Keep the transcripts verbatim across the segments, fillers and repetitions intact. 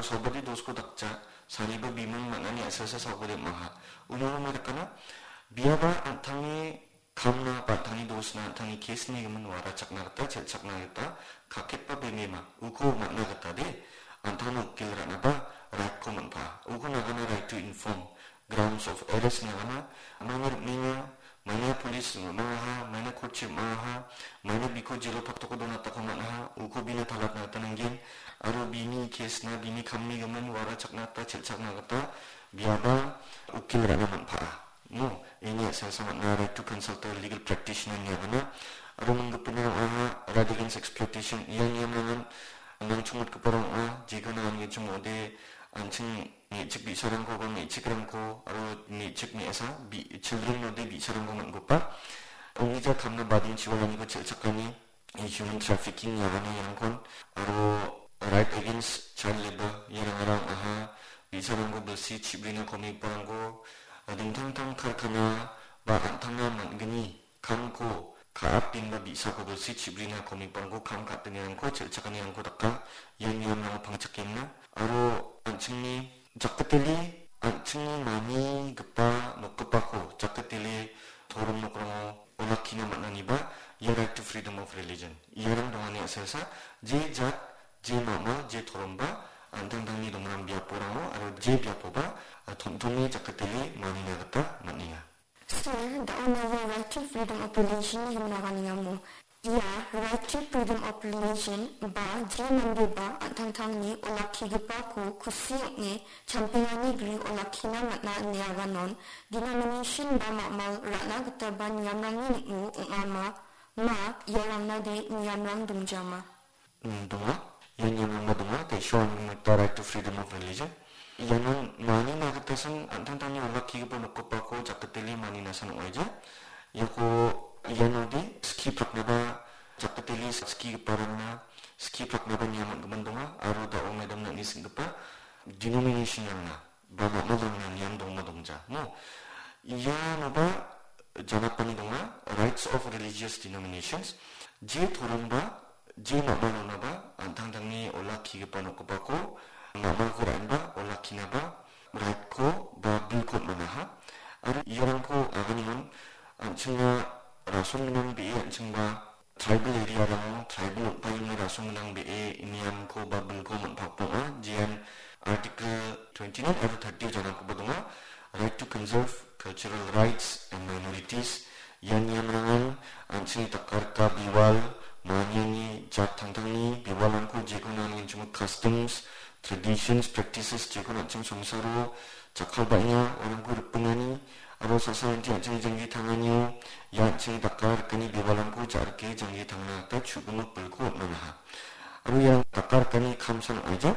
saubade dosko dakja, sariba bimung man·ani a·selsa saubade ong·aha. Uno ong·e dakana, biaba an·tangni kamna ba an·tangni dosna an·tangni case-ni gimin warachakna gita, chelchakna gita, kaketba bemema, uko man·na gita de, an·tangni ukil ra·naba right-ko man·paa. Uko nagana right to inform, grounds of arrest nagana, maina rim·enga, maina police rim·aha, maina court-chi rim·aha, maina biko jelo paktoko donatako man·aha, uko bina talatna gita nanggen, aro bini case-na, bini kamni gimin warachakna gita, chelchakna gita, biaba ukil ra·na man·paa. No, ini a·selsa man·a, right to consult a legal practitioner ine agana. Aro mingipin ong·aha, right against exploitation. Ia niamrangan nangchongmotgiparang ong·a, jekon angenchim ong·ode, an·ching me·chik bi·sarangko ba me·chikrangko, aro me·chik me·asa, bi-, children ode bi·sarangko man·gipa. Ong·gija kamna badingchiwalaniko chelchakani, human trafficking iaganirangkon, aro right against child labour, iarangara ong·aha, bi·sarangko bilsi chibrina komiparangko, dingtang tang karkana ba an·tangna man·gni kamko ka·atengba bi·sako bilsi chibrina komiparangko kam ka·atengirangko chelchakanirangko daka, ia niamrango pangchakengna, aro an·chingni jakatele an·chingni manigipa nokgipako jakatele torom nokrango olakkina man·aniba ia right to freedom of religion. Iarang dongani a·selsa je jat, je mama, je toromba, an·tangtangni dongram biaporango aro je biapoba, a, tom·tome jakatele manina gita man·enga. Sir, da·o naia right to freedom of religion himna ganingamo. Ia right to freedom of religion ba je mandeba an·tangtangni olakkigipako kusi ong·e champengani gri olakkina man·a ine aganon, denomination ba mamal ra·na gitaba niamrangni ning·o ong·ama, ma iarangna de niamrang dongjama. Mm, donga. Ia niamrangba donga. Te issue on the right to freedom of religion. Iano manina gitasan an·tangtangni olakkigipa nokgipako jakatele maninasan ong·aija. Iako ianode skie praknaba, jakatele skigiparangna skie praknaba niam man·gimin donga. Aro da·o madam nangni sing·gipa denomination-rangna ba mamalrangna niam dongma dongja. No. Ianoba janapani donga, rights of religious denominations. Je toromba, je mamalonaba, an·tangtangni olakkigipa nokgipako, mamalko ra·enba, olakkinaba, right-ko ba bilko man·aha. Aro iarangko aganimon, an·chingna rason gnang be·e an·chingba, tribal area-rango, tribal ong·paini rason gnang be·e niamko ba bilko man·pakbonga, jean Article twenty-nine aro thirty-o janakoba donga, right to conserve cultural rights and minorities. Ia niamrangan an·chingni dakarika biwal, maniani jat tangtangni biwalrangko jekon anigenchimo customs, traditions, practices jekon an·ching songsaro jakkalbaenga, uarangko ripengani, aro sa·sa rangti an·chingni janggi tanganio, ia an·chingni dakarikani bibalrangko ja·rike janggi tangna gita chu·gimik bilko on·manaha. Aro ia dakarikani kamsan ong·aija,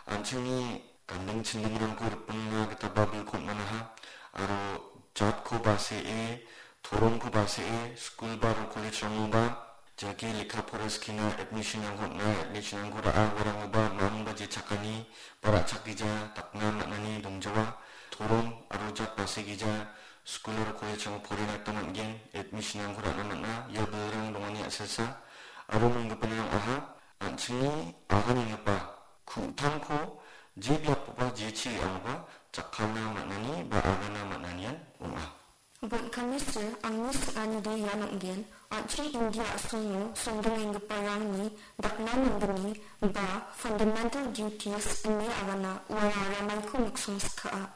an·chingni ganding chindingrangko ripengna gita ba bilko on·manaha, aro jatko ba see, toromko ba see, skul ba aro college-rangoba, jake lekka pora skina admission-rangko on·a, admission-rangko ra·a, uarangoba mangba je chakani ba ra·chakgija dakna man·ani dongjawa. Torom aro jat basegija skul aro college-rango porina gita man·gen, admission-rangko ra·na man·a, ia bilrang dongani a·selsa. Aro minggipa ong·aha, an·chingni aganenggipa ku·tangko je biapoba, jechi re·angoba jakkalna man·ani ba agana man·anian ong·a. Bon·kame sir, angni sing·anide ian ong·gen, an·ching India a·songo songdongenggiparangni dakna manggni ba fundamental duties ine agana, uara ramaiko miksong skaa.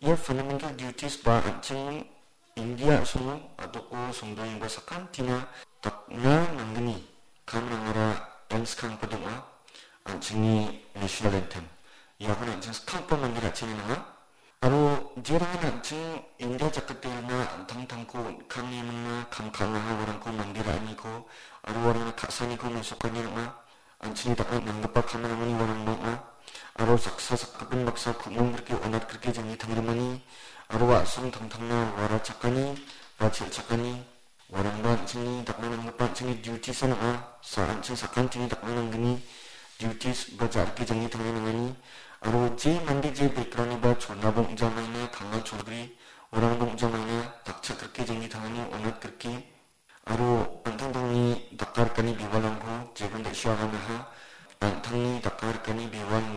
Ia fundamental duties ba an·ching India a·songo a·doko songdongenggipa sakantina dakna manggni kamrangara dangskanggipa dong·a, an·chingni national anthem. Iakon an·ching skanggipa mande ra·china nanga. Aro jerangan an·ching India jakkalna an·tangtangko on·kangni mingna kam ka·angaha uarangko mande ra·aniko aro uarangna ka·saniko mesokani ong·a. An·chingni dakna nanggipa kamrangni uarangba ong·a. Aro saksa sakgipin baksa ku·mong grike onat grike janggi tangrimani aro a·song tangtangna uara chakani ba chel·chakani. Uarangba an·chingni dakna nanggipa an·chingni duties-an ong·a. Sa an·ching sakantini dakna nanggni duties ba ja·rike janggi tangna nangani. Aro je mande je background-niba cholnaba ong·jamaina, kanga cholgri, uarangba ong·jamaina, dakchak grike janggi tangani, onat grike. Aro an·tangtangni dakarikani bibalrangko jegon da·sia aganaha, an·tangni dakarikani bibalni